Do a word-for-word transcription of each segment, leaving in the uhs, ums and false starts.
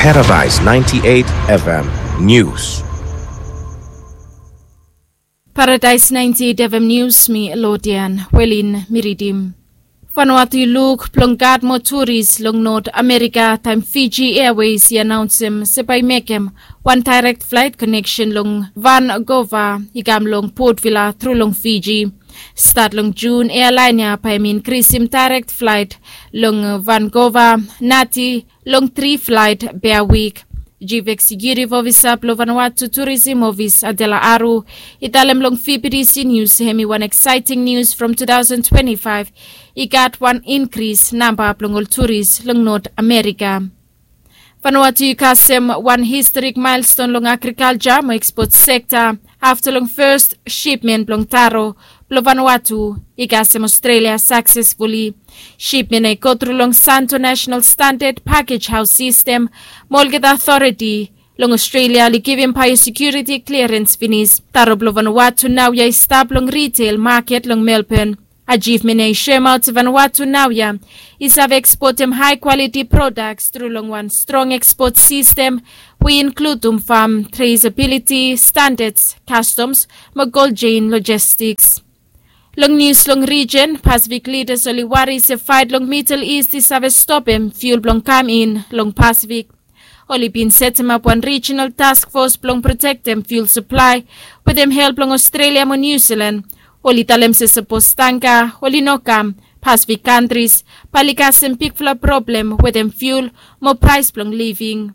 Paradise ninety-eight F M News. Paradise ninety-eight F M News, mi Lodian Welin mi ridim. Vanuatu i luk blong gat moa turis long North America taem Fiji Airways i anaonsem se bae i mekem wan direct flight connection long Vancouver i kam long Port Vila tru long Fiji. Stat long Jun, airline ya bae hem inkrisim direct flight long Vancouver nati long tri flight per week. Chief Executive Officer blong Vanuatu Tourism Office, Adela Aru, i talem long V B T C News hem i wan exciting news from two thousand twenty-five. I gat wan inkris namba blong ol turis long North America. Vanuatu i kasem wan historic milestone long agriculture mo export sector afta long first shipment blong taro blong Vanuatu i kasem Australia successfully. Shipment ya i go tru long Santo National Standard Package House System mo olgeta authority long Australia oli givim biosecurity clearance finis. Taro blong Vanuatu naoia i stap long retail market long Melbourne. Achievement ya i soemaot se Vanuatu naoia i save exportem high quality products tru long wan strong export system we i inkludum farm traceability standards, customs mo cold chain logistics. Long news long region, Pacific leaders oli wari se fight long Middle East i save stopem fuel blong kam in long Pacific. Oli bin setemap wan regional task force blong protektem fuel supply wetem help blong Australia mo New Zealand. Oli talem se sapos tangka oli no kam, Pacific countries bae oli kasem bigfala problem wetem fuel mo praes blong living.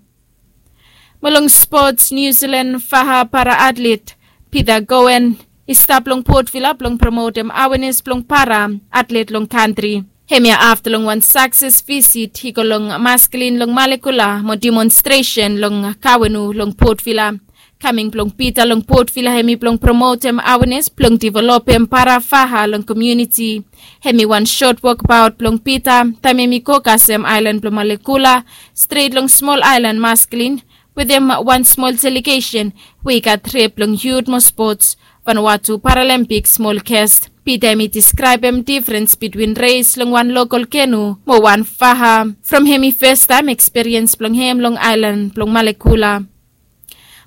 Mo long sports, New Zealand faha para atlet Peter Cowan i stap long Port Vila blong promotem awareness blong para atlet long kantri. Hemia afta long wan success visit i go long Masculine long Malekula mo demonstration long Kawenu long Port Vila. Kaming blong Peter long Port Vila hem i blong promotem awareness blong developem para faha long community. Hem i wan short walkabout blong Peter taem hem i go kasem aelan blong Malekula stret long smol aelan Masculine wetem wan smol delegation we i gat rep blong youth mo sports, Vanuatu Paralympic smol guest. Peter hem i deskraebem difrens bitwin res long wan local canoe mo wan faha from hem i fastaem ekspiriens blong hem long aelan blong Malekula.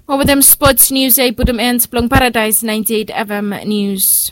Mo wetem sports news ya i putum end blong Paradise ninety-eight F M news.